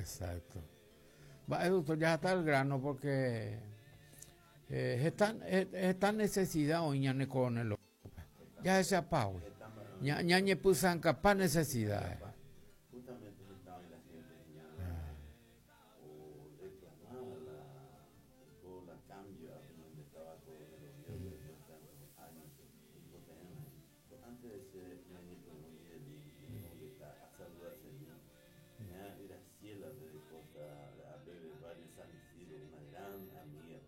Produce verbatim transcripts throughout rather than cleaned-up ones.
Exacto. Va, doctor, ya está el grano porque eh, esta, esta necesidad hoy ñane Coronel López. Ya se apago. Ña ñañe pusan capaz necesidad. Justamente estaba en la gente ya o reclamaba la con la cambio a donde estaba Coronel Oviedo después de tantos años. Antes de ser ñañe a saludarse ña Graciela de Costa a Bebe Barrio San Isidro, una gran amiga,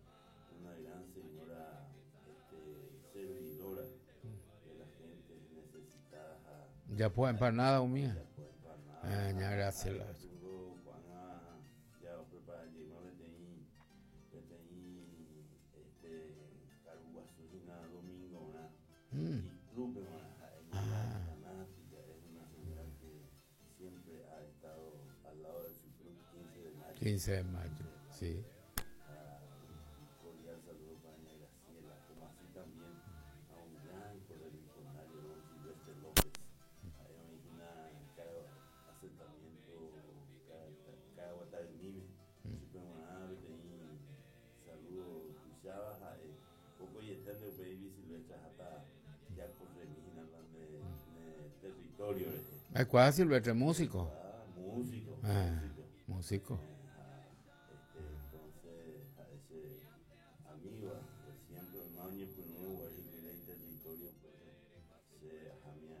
una gran señora este, servidora de la gente necesitada. Ya puede empanada, mía. Ya puede empanada. Ah, ña Graciela. Ya prepara llegó peteĩ peteĩ este karu guasu hína domingo ¿verdad? Mm. Y club ¿verdad? Ah. Fanática, es una señora que siempre ha estado al lado de su club quince de mayo. quince de mayo, sí. Ah, un cordial saludo para doña Graciela, como así también a un gran correligionario, don Silvestre López. Ahí una cada asentamiento, cada, cada guatarmime. Saludo, escuchaba, eh, poco y están de baby Silvestre hasta ya corremina de, de territorio. Eh. ¿Cuál es Silvestre? Músico. Ah, músico, Ah, músico. Músico. Eh, este, entonces, a ese amigo, que siempre no año por nuevo, ahí que era el territorio, pues, se jamía a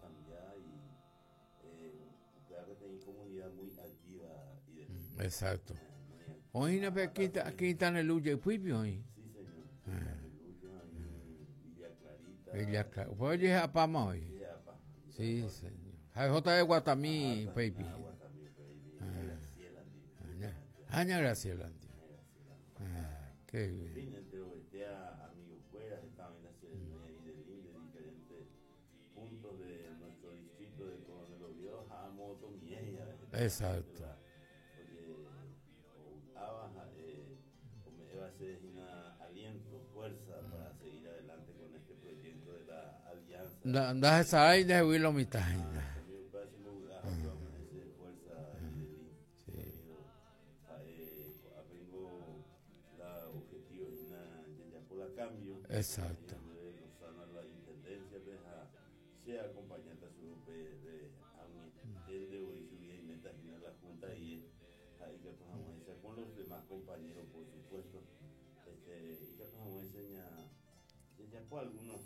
cambiar y eh, claro que tenía comunidad muy activa y de Exacto. eh, muy activa. Hoy no, pero aquí está, aquí está en el Luya y Puipio hoy. Sí, señor. Aleluya, y Villa Clarita. Villa Clarita. Pues oye, a Pama hoy. Villa Pa- Sí, señor. J de Guatamí, baby. Ah, Guatamí, baby. Graciela, Aña, Aña Graciela. Ah, qué bien. Fin, entre Obetea, amigos fuera, estaban en la ceremonia y del de diferentes puntos de nuestro distrito de Coronel Oviedo, a moto mía. Exacto. Oye, o abaja, eh, o me va a ser una aliento, fuerza para seguir adelante con este proyecto de la alianza. Da, da esa ahí de Willow mitad. Ah, mi padre se me gustaba, ese fuerza y del Sí. Eh, apengo la objetivo y na ya por la cambio. Exacto. De Lozana la intendencia de sea acompañante a su grupo de de hoy su vida y meta y la junta y ahí que tomamos esa con los demás compañeros, por supuesto. Este, y que tomamos enseña ya por algunos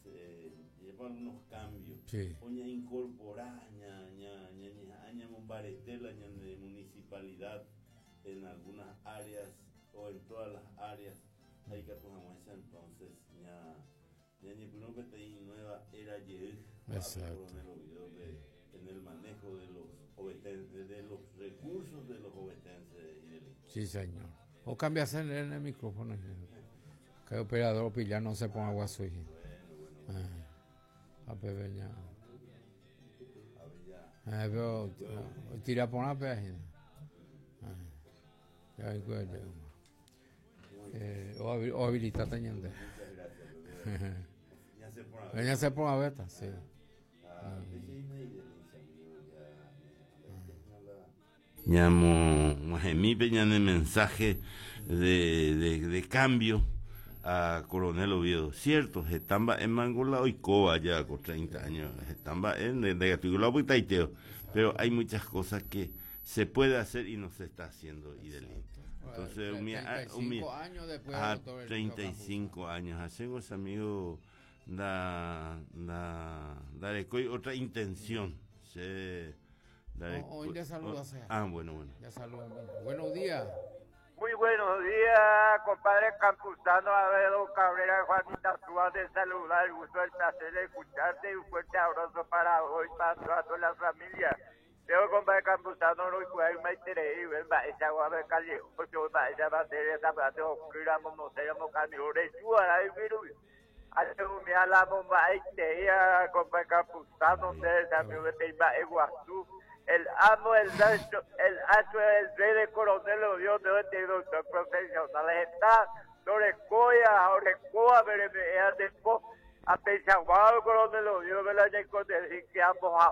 eh, ya por algunos cambios. Sí. Oña incorporar ña ña ña ña ña mombaretela ña de municipalidad en algunas áreas o en todas las áreas. Ahí que tomamos esa entonces ña ña ña primero que te nueva era ye Exacto. En el manejo de los obetenses, de los recursos de los obetenses y del Sí, señor. O cambias en el micrófono. Que el operador pilla no se ponga guaso. Ah, a pebeña. A ver ya. Ah, pero eh, tira por una página. Ah, ya vengo yo. Eh, o, habi- o habilitate ñande. Muchas gracias. Bebé. Ya se pone a ver. Venga se ponga beta, sí. Ah, Llamo Majemí Peña de mensaje de, de, de cambio a Coronel Oviedo. Cierto, estamba en Mangola hoy coba ya con treinta años, estamba en de, de Gatigulo, pero hay muchas cosas que se puede hacer y no se está haciendo y del Entonces, un treinta y cinco años después a doctor Elio treinta y cinco años. Hacemos, amigo, da, da, da otra intención. Se, da Oh, hoy le saluda, oh, sea. Ah, bueno, bueno. Ya saluda, mira. Buenos días. Muy buenos días, compadre Campuzano, Abedo Cabrera, Juanita Suárez, de saludar, el gusto, el placer de escucharte y un fuerte abrazo para hoy, para toda, toda la familia. Yo, compadre Campuzano, no puedo me interés, ven, esa agua de calle, ocho, va, esa va a ser esa va a ser, oscuramos, no seremos camiones, tú, ahí, mira, hace un día la bomba, ahí te ia, compadre Campuzano, ustedes también, ven, va, Iguazú. El amo, el astro, el astro, el rey de Coronel Oviedo, de este doctor profesional, está Lorecoya, Orecoa, pero me de a pensar, wow, Coronel Oviedo, me la llevo de que ambos a